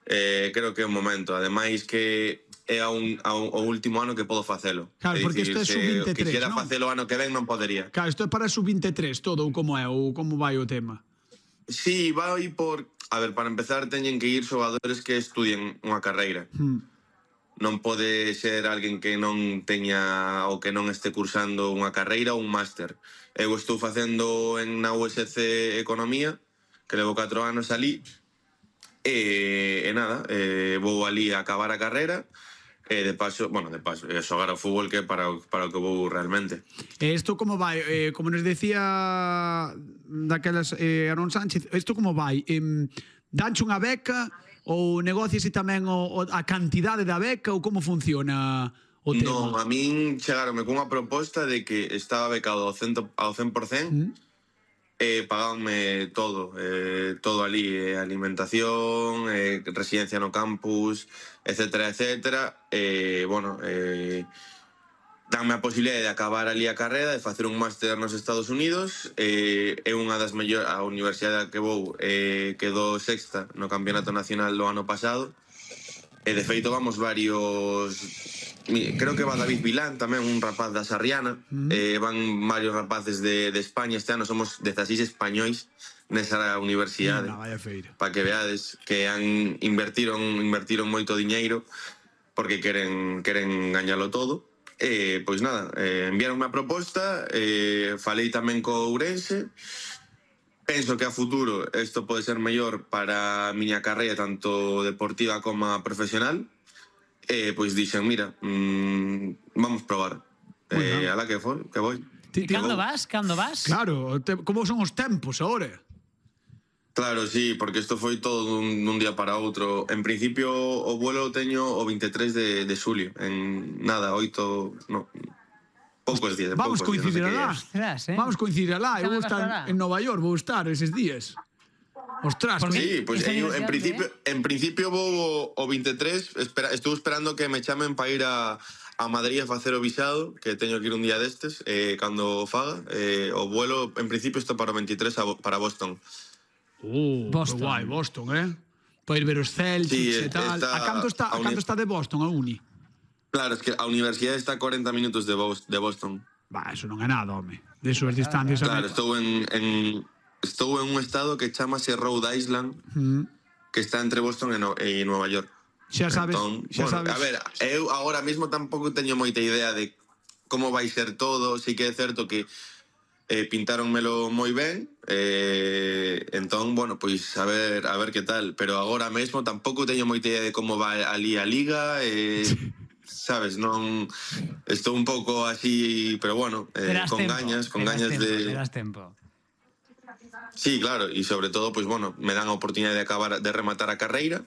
creo que é o momento. Ademais que é o último ano que podo facelo. Claro, porque isto é sub-23, que quixera non? facelo ano que ven non podería. Claro, isto é para sub-23 todo, ou como é, ou como vai o tema? Sí, vai por... A ver, para empezar teñen que ir xogadores que estudien unha carreira. Non pode ser alguén que non teña ou que non este cursando unha carreira ou un máster. Eu estou facendo na USC Economía, que levo 4 anos ali, e nada, vou ali a acabar a carreira, e de paso, xogar ao fútbol, que é para o que vou realmente. Isto como vai? Como nos decía daquelas Aaron Sánchez, isto como vai? Danche unha beca ou negocias tamén a cantidade da beca ou como funciona o tema? Non, a min chegaronme cunha proposta de que estaba becado ao 100%, e pagábanme todo ali, alimentación, residencia no campus, etcétera, etcétera. Danme a posibilidade de acabar ali a carreira, de facer un máster nos Estados Unidos. É unha das mellores, a universidade que vou quedou sexta no campeonato nacional do ano pasado, e de feito vamos varios... Creo que va David Vilán tamén, un rapaz da Sarriana. Van varios rapaces de España este ano. Somos 16 españois nesa universidade. Para que veades que invertiron moito diñeiro porque queren gañalo todo. Pois nada, enviaronme a proposta, falei tamén co Ourense. Penso que a futuro isto pode ser mellor para a miña carreira, tanto deportiva como profesional. Pois dixen, mira, vamos probar. Alá que voi. Cando vas? Claro, como son os tempos agora? Claro, sí, porque isto foi todo dun día para outro. En principio o vuelo teño o 23 de xulio. En nada, 8... No, poucos días. Vamos coincidir alá. Vamos coincidir alá. Eu vou estar en Nova York, vou estar eses días. Ostras, sí, pois en principio vou o 23, estou esperando que me chamen para ir a Madrid a facer o visado, que teño que ir un día destes, cando faga. O vuelo, en principio, está para o 23 para Boston. Boston. Guai, Boston, para ir ver os Celtics e tal. A canto está de Boston, a uni? Claro, es que a universidade está a 40 minutos de Boston. Eso non é nada, home. De súas distancias. Claro, estou en un estado que chamase Rhode Island, que está entre Boston e Nueva York. Xa sabes. A ver, eu agora mesmo tampouco teño moita idea de como vai ser todo. Sí que é certo que pintáronmelo moi ben, entón, pois a ver que tal. Pero agora mesmo tampouco teño moita idea de como vai ali a liga, sabes, non... Estou un pouco así, pero con gañas de... Terás tempo. Sí, claro, e sobre todo, pois, me dan a oportunidade de rematar a carreira,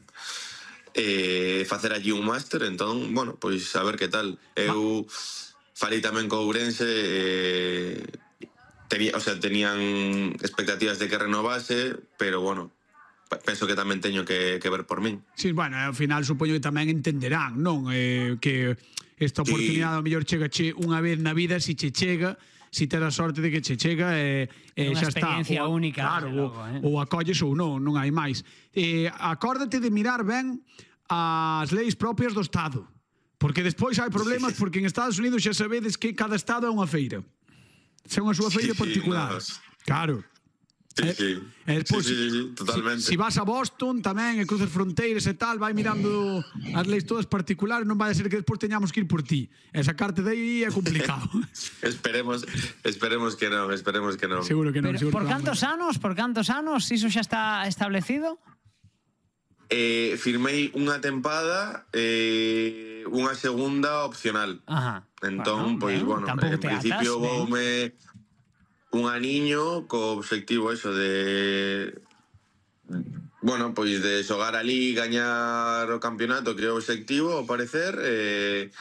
facer allí un máster, entón, pois, a ver que tal. Eu falei tamén co Ourense, tenían expectativas de que renovase, pero, penso que tamén teño que ver por min. Sí, ao final supoño que tamén entenderán, non? Que esta oportunidade ao mellor chegache unha vez na vida, se che chega, si tes a sorte de que che chega e xa está. Unha experiencia única. Claro, ou acolles ou non hai máis. Acórdate de mirar ben as leis propias do Estado, porque despois hai problemas, porque en Estados Unidos xa sabedes que cada Estado é unha feira. É unha súa feira particular. Claro. Sí, totalmente. Si vas a Boston tamén e cruzas fronteiras e tal, vai mirando as leis todas particulares, non vai a ser que despois teñamos que ir por ti e sacarte de aí é complicado. Esperemos que non. Seguro que non. Por cantos anos iso xa está establecido? Firmei unha tempada, unha segunda opcional. Entón, pois, en principio voume un aniño co obxectivo eso de pois de xogar ali, gañar o campeonato, que é o obxectivo, ao parecer, e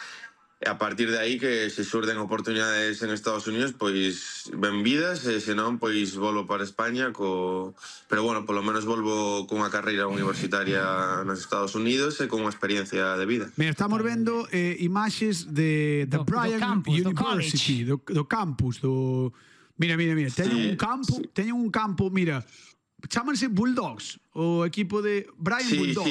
a partir de aí que se xurden oportunidades en Estados Unidos, pois benvidas, e senón pois volvo para España pero polo menos volvo cunha carreira universitaria nos Estados Unidos e con unha experiencia de vida. Mira, estamos vendo imaxes de Bryant University, do campus, do... Mira, teñen un campo, mira, chámanse Bulldogs, o equipo de Bryant Bulldogs.